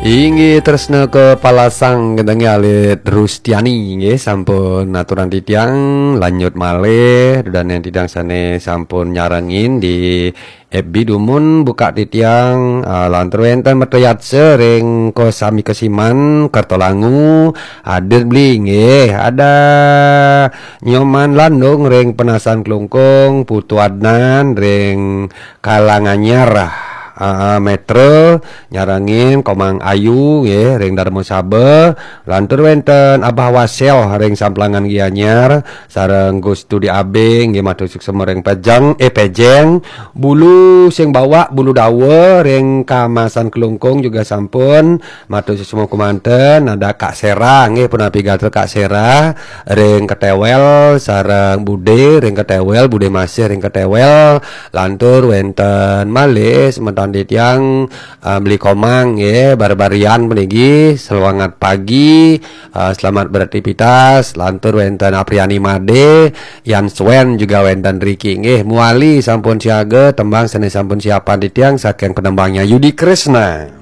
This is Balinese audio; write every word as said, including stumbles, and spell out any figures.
Inggih tresna ka palasang gentenge alit Rustiani nggih sampun aturan titiang lanjut malih dudaning titiang sane sampun nyarengin di F B dumun buka titiang, ah, lantur wenten Metrayatsa ring Kosami Kesiman Kertolangu hadir beli nggih ada Nyoman Landung ring Penasan Klungkung, Putu Adnan ring Kalanganyar, ah, Metra nyarengin Komang Ayu nggih ring Darma Saba, lantur wenten Abah Wasel ring Samplangan Gianyar, sareng Gus Dudi Abing nggih matur suksema ring Pejeng, eh, Pejeng, Bulu sing bawak Bulu Dawa ring Kamasan Klungkung juga sampun matur suksema kemanten, ada Kak Sera nggih punapi gatra Kak Sera ring Ketewel sareng Bude ring Ketewel, Bude Masih ring Ketewel, lantur wenten malih semeton titiang, ah, beli Komang nggih, barbarian puniki, selamat pagi, ah, selamat beraktivitas, lantur wenten Apriani Made, Yan Swen juga wenten riki nggih, muali sampun siaga, tembang sane sampun siapan titiang saking penembangnya Yudi Kresna.